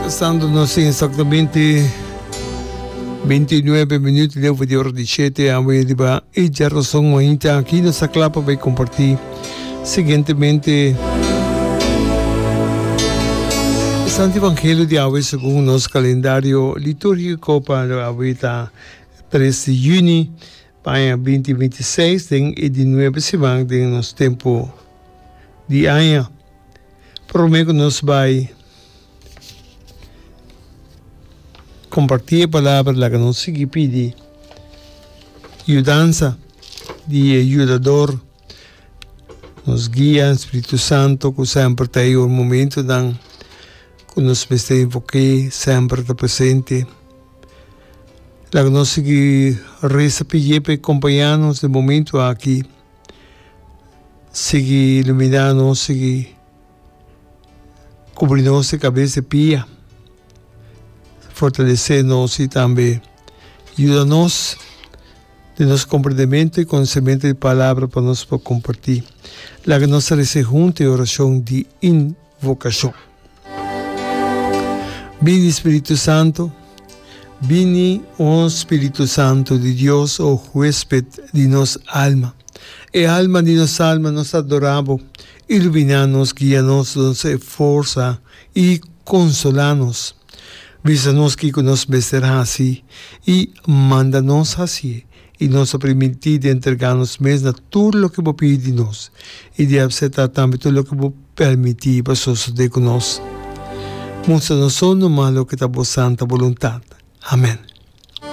Pasando nos tin exactamente 29 minuut leu di ora di shete awe riba e djarazon mainta aki nos ta kla pa bai comparti siguientemente e Santo Evangelio di awe segun nos calendario liturgico pa awe ta 3 di juni pa aña 2026 den e di nuebe siman den nos tempo di aña. Prome ku nos bai kompartí e palabra laga nos sigui pidi yudansa di e Yudador, nos Guia, Spiritu Santo ku semper ta ei ora momentunan ku nos mester invok'é semper ta presente. Laga nos sigui resa pidié pa e kompañá nos den momentu aki. Sigui iluminá nos, sigui kubri nos di kabes di pia, fortalesé nos i tambe yuda nos den nos komprendementu i konosementu di palabra pa nos por kompartí. Laga nos resa huntu e orashon di invokashon. Bini Spiritu Santu, bini o Spiritu Santu di Dios o huesped di nos alma. E alma di nos alma nos ta adora bo, ilumina nos, guia nos, duna nos e forsa i konsola nos. Bisa nos kiko nos mester hasi i manda nos hasié. I nos a primintí di entregá nos mes na tur loke bo pidi di nos, i di apseptá tambe tur loke bo permití pa sosodé ku nos. Mustra nos so numa loke ta bo santa boluntat. Amèn.